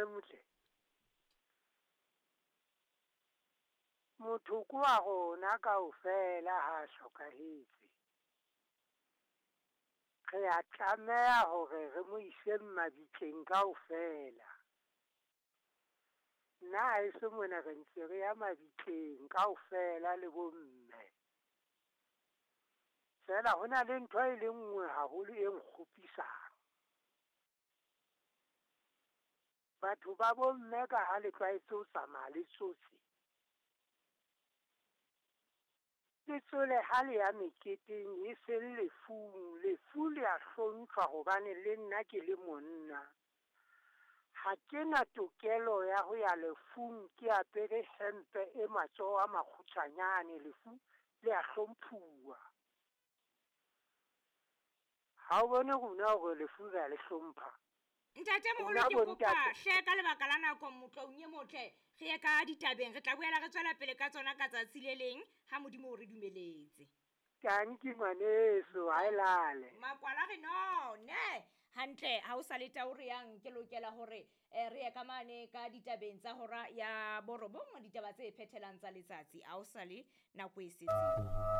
e motle. Motho ke wa rona kaofela ha a hlokahetse. Re a tlameha hore re mo ise mabitleng kaofela. Nna haeso mona re ntse re ya mabitleng kaofela le bomme. Feela ho na le ntho e le nngwe haholo e nkgopisang. Batho ba bomme ka ha le tlwaetse ho tsamaya le tsotse. Le tsole ha le ya meketeng e seng lefung. Lefu le a hlompha hobane le nna ke le monna. Ha ke na tokelo ya ho ya lefung ke apere hempe e matsoho a makgutshwanyane. Lefu le a hlomphuwa. Ha o bone rona hore lefu re a le hlompha. Ntate moholo Rona ke kopa bontate. hle ka lebaka la nako motloung e motle re ye ka ditabeng re tla boela re tswela pele ka tsona ka tsatsi le leng ha modimo o re dumeletse. Tanki ngwaneso, ha e lale. Makwala re none hantle ha o sa le tau re yang ke lokela hore re ye ka mane ka ditabeng tsa hora ya borobong ditaba tse phethelang tsa letsatsi ha o sa le nako e setseng.